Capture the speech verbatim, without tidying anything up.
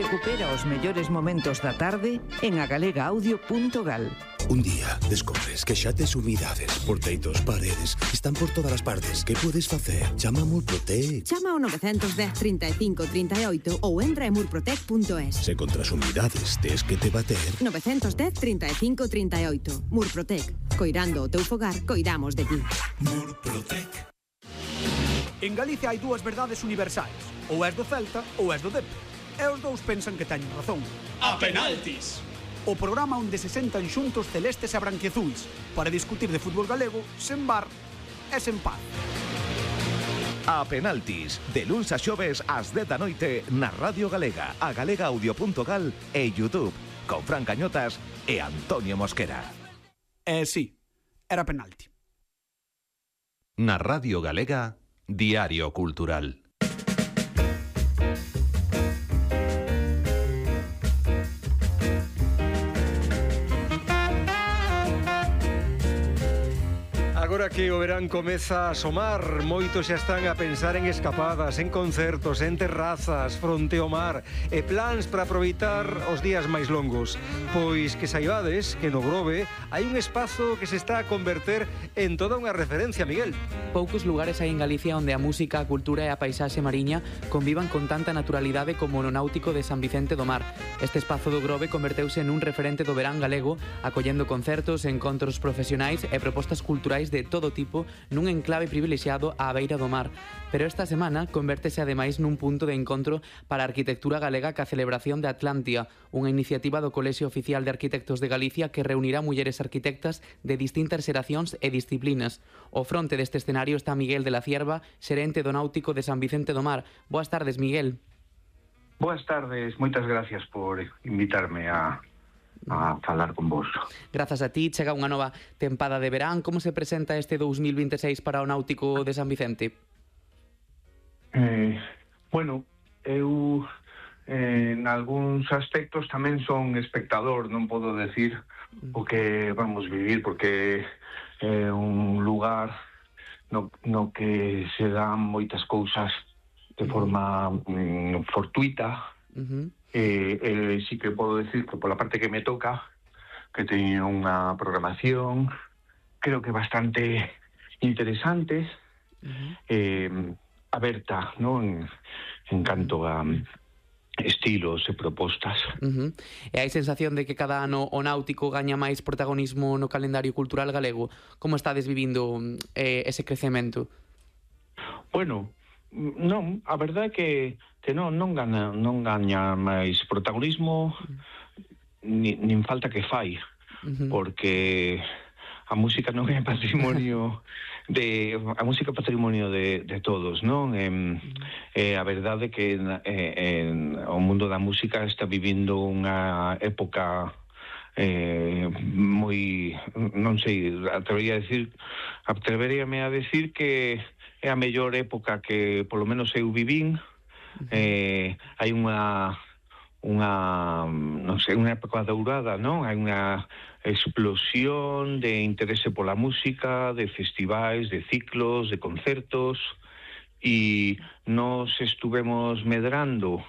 Recupera os mellores momentos da tarde en agalega audio punto gal. Un día descubres que xa tes humidades por teitos, paredes, están por todas as partes. Que podes facer? Chama a Murprotec. Chama ao nove dez, trinta e cinco, trinta e oito ou entra en murprotec punto es. Se contra as humidades tes que te bater... nove dez, trinta e cinco, trinta e oito. Murprotec. Coirando o teu fogar, coidamos de ti. Murprotec. En Galicia hai dúas verdades universais. Ou és do Celta ou és do Dep. E os dous pensan que teñen razón. A penaltis! O programa onde se sentan xuntos celestes e branquiazuis para discutir de fútbol galego sen bar e sen paz. A penaltis, de luns a xoves ás dez da noite na Radio Galega, a galega audio punto gal e YouTube, con Fran Cañotas e Antonio Mosquera. Eh, sí, era penalti. Na Radio Galega, Diario Cultural. Agora que o verán comeza a asomar, moitos xa están a pensar en escapadas, en concertos, en terrazas, fronte ao mar e plans para aproveitar os días máis longos. Pois que saibades que no Grove hai un espazo que se está a converter en toda unha referencia, Miguel. Poucos lugares hai en Galicia onde a música, a cultura e a paisaxe mariña convivan con tanta naturalidade como no náutico de San Vicente do Mar. Este espazo do Grove converteuse nun referente do verán galego, acollendo concertos, encontros profesionais e propostas culturais de todo tipo nun enclave privilexiado á beira do mar. Pero esta semana convértese ademais nun punto de encontro para a arquitectura galega ca celebración de Atlantia, unha iniciativa do Colexio Oficial de Arquitectos de Galicia que reunirá mulleres arquitectas de distintas xeracións e disciplinas. Ao fronte deste escenario está Miguel de la Cierva, xerente do náutico de San Vicente do Mar. Boas tardes, Miguel. Boas tardes, moitas gracias por invitarme a a falar con vos. Grazas a ti, chega unha nova tempada de verán. Como se presenta este dous mil vinte e seis para o náutico de San Vicente? Eh, bueno, eu eh, en algúns aspectos tamén son espectador, non podo decir o que vamos vivir, porque é un lugar no, no que se dan moitas cousas de forma mm, fortuita. Uh-huh. Eh, eh, sí que podo decir que pola parte que me toca, que teño unha programación creo que bastante interesante, uh-huh. eh, aberta, ¿no? en, en canto a estilos e propostas. Uh-huh. E hai sensación de que cada ano o náutico gaña máis protagonismo no calendario cultural galego. Como estades vivindo eh, ese crecemento? Bueno, non, a verdade é que que non non gaña non gaña máis protagonismo, ni, nin falta que fai, uh-huh. porque a música non é patrimonio de a música é patrimonio de, de todos, non? E, uh-huh. eh, a verdade é que eh, en, o mundo da música está vivindo unha época eh, moi, non sei, atrevería a decir, atreveríame a decir que é a mellor época que polo menos eu vivín. Eh, hai unha unha non sei, unha época dourada, non? Hai unha explosión de interese pola música, de festivais, de ciclos, de concertos, e nos estuvemos medrando